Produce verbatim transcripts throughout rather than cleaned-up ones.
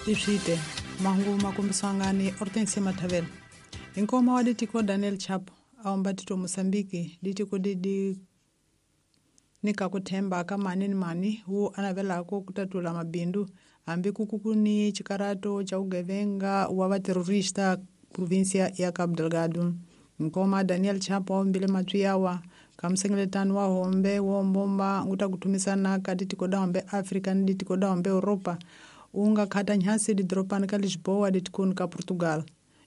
Iswite mahungu makombiswangani Hortensia Matavela. Inkoma wa ditiko Daniel Chapo aomba tito Mosambiki ditiko didi nika kuthemba ka mani ni mani wu anavelako kutatula mabindu hambi kukukuni chikarato cha ugevenga wa vaterrorista provincia ya Cabo Delgado. Nkoma Daniel Chapo aombile matwi yawa kamsengeletano wa hombe wombomba nguta kutumisana ka ditiko da hombe Afrika ni ditiko da hombe Europa unga khata nyhasi didropani ka Lisboa ditikoni ka Portugal.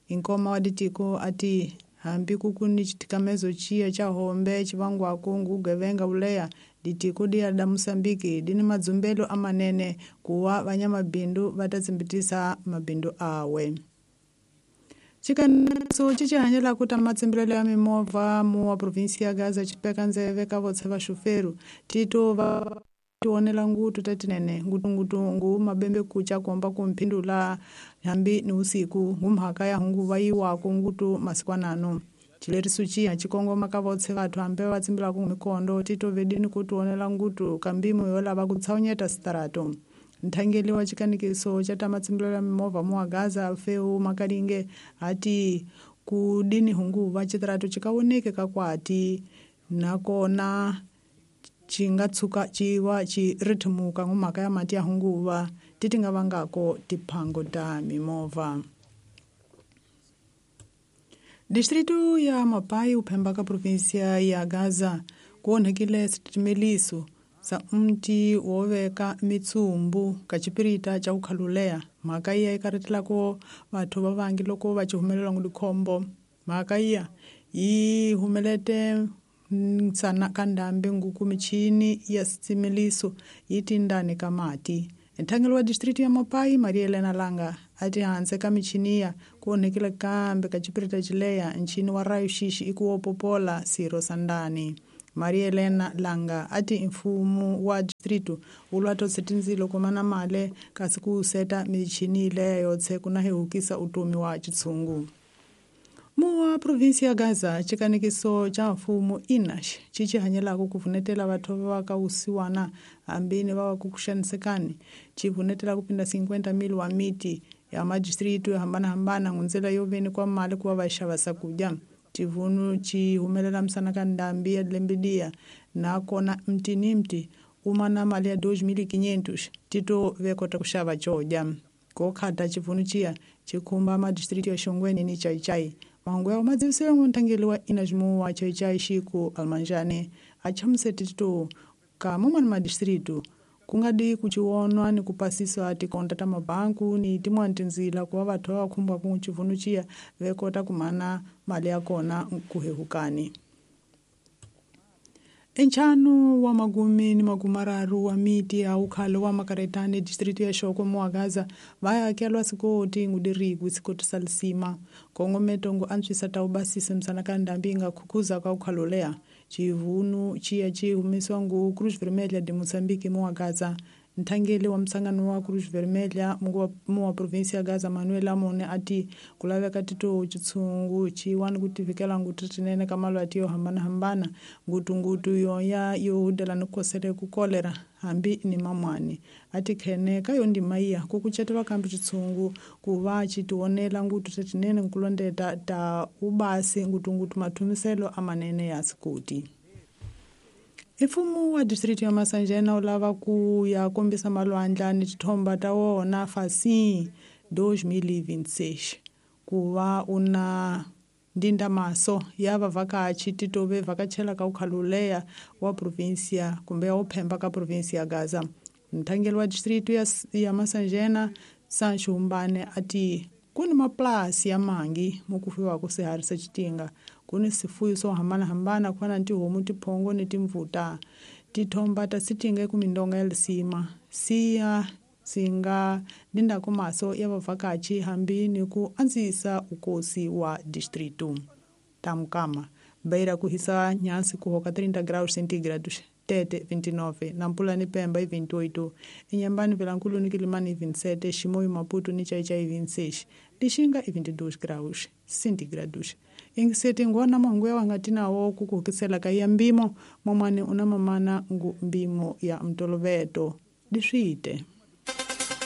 Inkoma wa ditiko ati hambi kukuni chitikamezo chiya cha hombe chivangwako ngugevenga uleya ditiko diya da Mosambiki dini madzumbelo amanene kuwa vanyamabindu vatatsimbitisa mabindu awe. Chikaniso chichihanyela kuta matsimbilelo ya mimovha mu wa provinsi ya Gaza chipeka ndzeve ka votse va xuferu tito va tionela ngutu tatinene ngutungutu ngu mabembe kucha komba kumphindula hambi ni usiku ngumhaka ya hunguva yiwako ngutu masikwanano. Chileriso chiya chikongoma ka votse vathu hambe va tsimbilaka mikondo tito vedini kutionela ngutu kambimo yo lava ku tshawunyeta sitarato. Nthangeli wa chikanikiso cha ta matsimbilelo ya mimovha mu wa Gaza Alfeu Makalinge ati kudini hunguva chitarato chikawoneke kakwati nakona chinga tshuka chiwa chi rithimuka ngumhaka ya mati ya hunguva titi nga vangako tiphango ta mimovha. Distrito ya Mapai uphemba ka provinsia ya Gaza ku onhekile switimeliso sa mti wo veka mitsumbu ka chipirita cha ukhaluleya. Mhaka iya yi karetelako vathu va vangi loko va chihumelela ngudikhombo. Mhaka iya yi humelete nsana ka ndhambi nguku michini ya switimeliso yi tindani ka mati. Nthangelo wa distrito ya Mapai Maria Elena Langa ati hanse ka michiniya ku onhekile kambe ka chipirita chileya nchini wa rayo xixi i ku wopopola siro sa ndani. Maria Elena Langa ati mfumo wa distrito wu lwa totse tindzilo kumana male kasi ku seta michini leya yotse kuna hehukisa utomi wa chitshungu. Muwa provinsi ya Gaza chikanikiso cha mfumo inash chichihanyelako kuvunetela vathu va ka usiwana hambini va va ku kuxanisekani chivunetela kupinda cinquenta mil wa miti ya madistrito yo hambanahambana ngundzela yo veni kwa mali kuva va xava swakudya. Chivunu chi humelela msana ka ndhambi ya lembe nakona mti ni mti uma na mali ya dois mil e quinhentos tito ve kota ku xava codya. Ko khata chivunu chiya chikhumba madistrito ya Xongweni ni Chaichai. Mahungu ya madzivisiwe nthangeli wa inajmu wa Chaichai Xiku Almanjane a chamusete tito ka momani madistrito ku nga di ku chiwonwa ni ku pasiswa tikonta ta mabanku ni tin'wani tindzila ku va vathu va khumbaka chivunu chiya ve kota ku mana mali ya kona ku hehukani. Enchanu wa magumi ni magumararu wa miti ya ukhalo wa makaretani distrito ya Xoko mu wa Gaza va ya hakelwa sikoti ngudirikwi sikoti sa lisima kongometo ngu antswisa ta ubasisa msana ka ndhambi yi nga khukhuza ka ukhalo leya. Chivunu chiya chi humesiwa ngu Cruz Vermelha de Moçambique mu wa Gaza. Nthangeli wa msangano wa Cruz Vermelha mu wa provinsi ya Gaza Manuel Amone ati ku laveka tito chitshungu chiwani ku tivikela ngutu tinene ka malwati yo hambanahambana ngutungutu yoya yo hudela ni kukosele ku kolera hambi ni mamwani. Ati khene ka yo ndima iya ku kucetelwa kambe chitshungu ku va chi tionela ngutu tetinene nkulondeta ta ubasi ngutungutu mathumiselo amanene ya sikoti. Mfumo wa distrito ya Masanjena wu lava ku ya kombisa malwandla ni tithomba ta wona fasi dois mil e vinte e seis ku va u na ndindamaso ya vavhakachi tito ve vhakachela ka ukhaluleya wa provinsia kumbe ya uphemba ka provinsia ya Gaza. Nthangeli wa distrito ya, ya Masanjena Sancho Humbane ati ku ni mapulasi ya mangi mo ku fuyiwaka swiharhi swa xitinga ku ni swifuyo swo hambanahambana ku fana ni tihomu tiphongo ni timvuta. Tithomba ta sitinga eku mindonga ya lisima siya singa ndindako maso ya vavhakachi hambi ni ku andzisa ukosi wa distrito. Tamukama Beira ku hisa nyasi ku hoka trinta graus centígrados Tete vinte e nove, Nampula ni Pemba vinte e oito, Inhambane, Vilankulo ni Quilimane vinte e sete, Chimoio, Maputo ni Chaichai vinte e seis, Lixinga vinte e dois graus centígrados. Ingisete ngona mahungu ya wangatina wo kukuhukisela ka ya mbimo momane una mamana ngu mbimo ya mtoloveto diswite.